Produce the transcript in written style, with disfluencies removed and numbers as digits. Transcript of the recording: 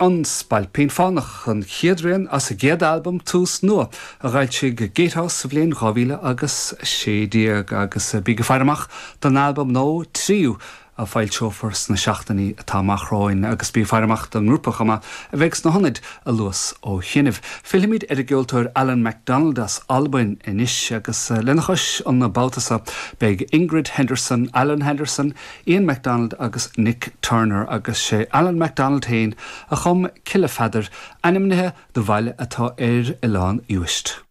An Spailpín Fánach, an chéad rian as a gcéad albam Tús Nua a d'fhoilsigh Gatehouse sa bhliain 2016 agus bígí ag faire amach don albam nó tríú a foilseofar sna seachtainí atá amach romhainn agus bí ag faire amach don ngrúpa chomh maith a bheidh sna hionaid a luas ó chianaibh. Fillfimid ar an gceoltóir Allan McDonald as Albain anois agus lena chois an babhta seo beidh Ingrid Henderson, Alan Henderson, Ian McDonald agus Nick Turner agus sé Allan McDonald féin a chum Cille Pheadair, ainmnithe do bhaile atá ar Oileán Uist.